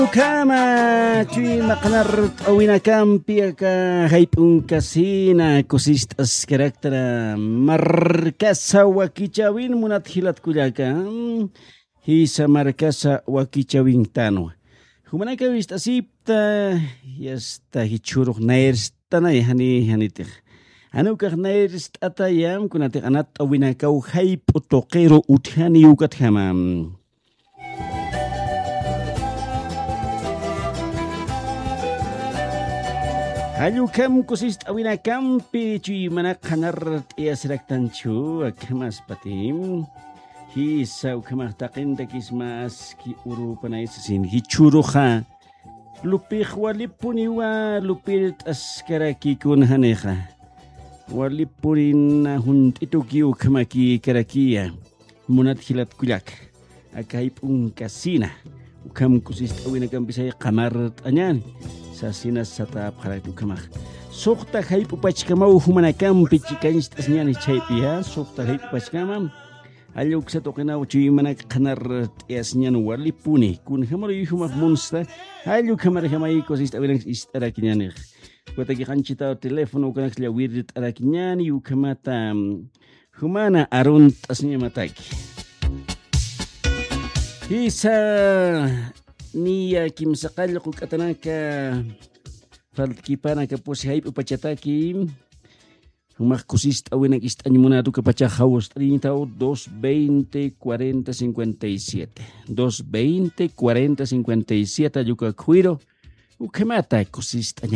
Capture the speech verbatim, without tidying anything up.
Ukhama chuyma qhanart'awinakampi aka jayp'unkasina kusist'askaraktara markasa wakichawin munat jilat kullaka. Jisa markasa wakichawintanwa. Jumanaka wist'asipta yasta jichhurux nayirstanay jani janitix. Jani ukax nayirst'atayam kunatix anatt'awinakaw jayp'u tuqiru utjani ukatjama. Jallukam kusist'awinakampi chuymanak qhanart'iyasiraktanchu akhamaspatim. Jisa ukhamax taqintakisma aski urupanaysasin jichhuruxa. Lupix walipuniwa lupirt'askarakikun janixa. Walipunina junt'ituki ukhamakikarakiya. Munat jilat kullak. Aka jayp'unkasina. Ukham kusist'awinakampisay qhamart'añani. Sasina satapxarakti ukhamax. Suxta jayp'upachkamaw jumanakampi chikañcht'asñani chaypiya. Suxta jayp'upachkama. Jalla uksa tuqinaw chuymanak qhanart'iyasiñan walipuni. Kunjamaruy jumax munsta. Jalla ukhamarjamay kusist'awinak ist'arakiñanix. Ukataki qanchitaw teléfono ukanak llawirt'arakiñani ukhamata. Jumana arunt'asiñamataki. Jisa niya kimsaqall quk'atanaka faltkipanaka pusi jayp'upachataki. Jumax kusist'awinak ist'añ munatukapachax jawst'ariñtaw dos veinte cuarenta cincuenta y siete. Dos veinte cuarenta cincuenta y siete alluka khuyru. Ukhamata kusist'aña.